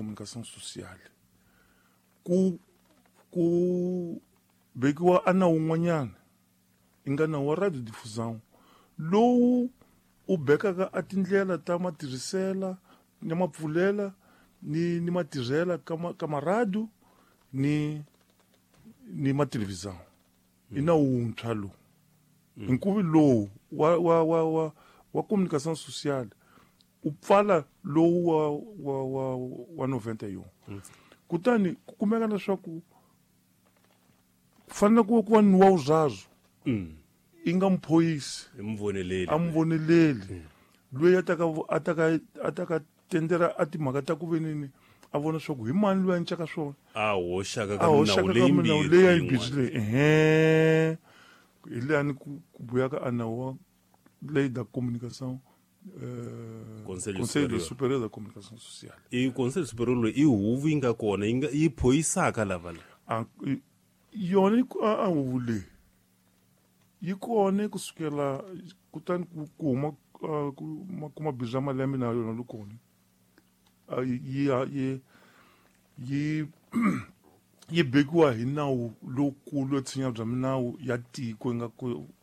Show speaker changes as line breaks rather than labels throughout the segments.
Communication Sociale ku vekiwa a nawu wun'wanyana i nga nawu wa radiodiffusion lowu u bekaka a tindlela ta matirhisela ni mapfulela ni matirhela ka maradiyo ni mathelevhizão. I nawu wuntshwa lowu nkuvi lowu wa communication sociale u pfala lowu wa 91. Kutani ku kumeka leswaku ku fanele ku va ni wa vuraru i nga muphoyisi
muvoneleli
a muvoneleli loyi a taka tendera a timhaka ta ku venini a vona leswaku hi mani loyi a encaka swona.
A hoxaka
ka
minawu
leyi minawu leyi a yi mbirhi leyi ehe hi leyani ku buyaka a nawu wa lei da communication,
Conseil
Conseil Superior da Communication Sociale.
I Conseil Superior loyi i huvo yi nga kona yi nga yi phoyisaka lava la.
Yona a huvo leyi yi kona kusukela kutani ku huma ku mabindzu ya malembe na yona li kona yi bekiwa hi nawu lowukulu yo tshinya bya minawu ya tiko yi nga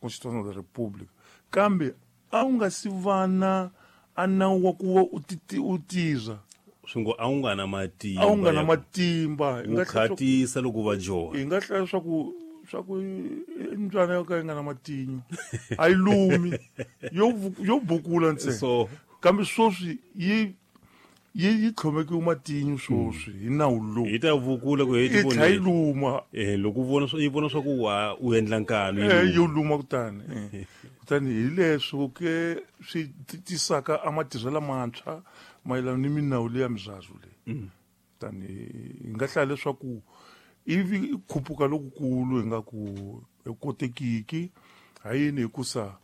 Constitution of the Republic, kambe a wu nga si va na a nawu wa ku va u tirha.
Swi ngo a wu nga na matimba.
A wu nga na matimba.
Wu khatisa loko va joha.
Hi nga hlaya swa ku i mbyana yo ka yi nga na matinyo, a yi lumi, yo bukula ntsena.
So
kambe sweswi yi tlhomekiwe matinyo sweswi hi nawu lowu.
Yi ta vukula ku
yi tlha yi luma.
Eh, loko u vona yi vona swa ku wa u endla nkanu.
Yo luma. Kutani hi leswo ke swi tisaka a matirhelo mantshwa mayelana ni minawu leya miraru leyi. Kutani hi nga hlaya leswaku ivi i khuphuka lokukulu hi nga ku kotekiki ha yini, hikusa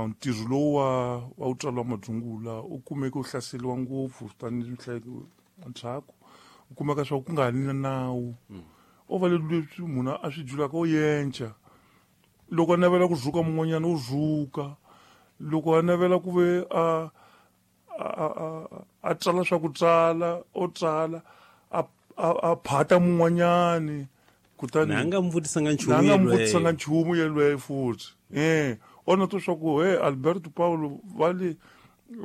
ntirho lowu wa wutswalo wa madzungula u kumeke u hlaseriwa ngopfu tanihi ndzhaku u kumeka swa ku nga ha ni na nawu o va leswi munhu a swi julaka o yenca. Loko a navela ku rhuka mun'wanyana, u rhuka. Loko a navela ku ve a tsala swa ku tsala, o tsala a phata mun'wanyani. Kutani
na nga mu vutisanga nchumu.
Na nga mu vutisanga nchumu yelweyo futhi o na to swa ku he Alberto Paulo vale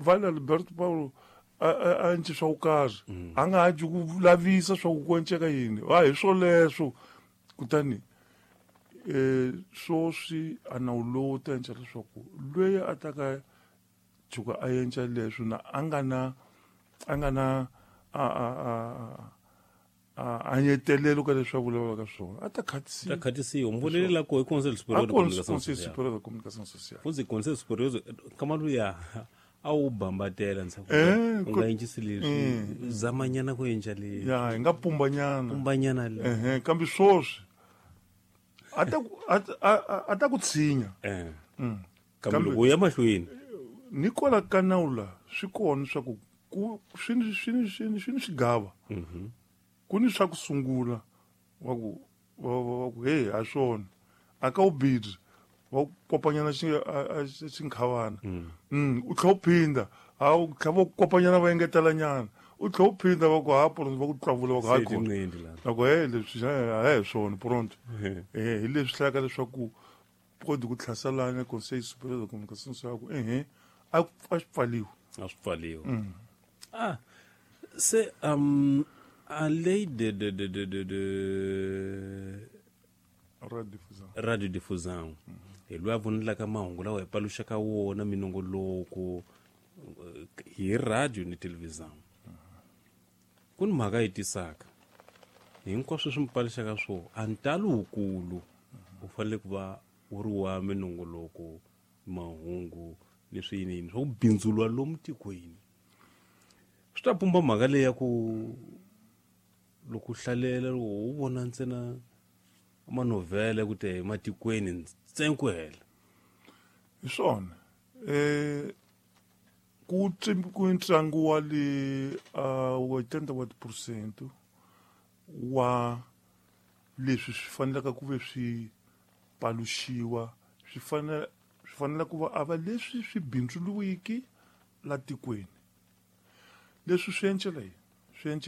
Alberto Paulo a ence swa ku karhi, a nga ha ku lavisa swa ku enceka yini a hi swoleswo. Kutani swoswi a nawu lowu ta endla leswaku loyi a ta ka tshuka a endla leswo na a nga na a nyetelelo ka leswi a vulavulaka swona a ta khatisiwa.
Ta khatisiwa. Muvoneleli la ko i Conseil Superior
de Communication. Conseil Superior de Communication Sociale.
Futhi Conseil Superior kama luya a wu bambatela ntshaku u nga encisi leswi, zamanyana ku endla leswi.
Ya, hi nga pumbanyana.
Pumbanyana le.
Ehe, kambe swoswi a ta ku tshinya.
Kambe loko u ya mahlweni.
Ni kwala ka nawu la swi kona swa ku swi ni swigava. Ku ni swa ku sungula wa ku hey, ha swona a ka wu bidzi wa ku kopanyana xinkhavana, u tlhela u phinda, ha u tlhela va ku kopanyana, va engetelanyana, u tlhela u phinda, va ku ha pronto, va ku tlavula, va ku hayi kona va ku he leswi a hi swona pronto. Hi leswi hlayaka leswaku kodi ku tlhaselana Conseil Superior de Communication swa ku ehe a swi pfaliwi.
A swi pfaliwi. Ah, se a lei de
radiodiffusion.
Radiodiffusion hi loyi a vonelaka mahungu lawa hi paluxaka wona minongoloko hi radio ni television. Ku ni mhaka yi tisaka hinkwaswo swi mi paluxaka swo a ntalo wukulu u fanele ku va wu ri wa minongoloko, mahungu ni swiyiniyini swa ku bindzuriwa lomu tikweni. Swi ta pumba mhaka leyi ya ku loko u hlalela, loko u vona ntsena manovhele ku te ematikweni ntsena ku hela.
Hi swona, ku ntlangu wa le 80 wa tiphurosente wa leswi swi fanelaka ku ve swi paluxiwa swi fanele ku va a va leswi swi bindzuriwiki la tikweni. Leswi swi encela yini? Swi encela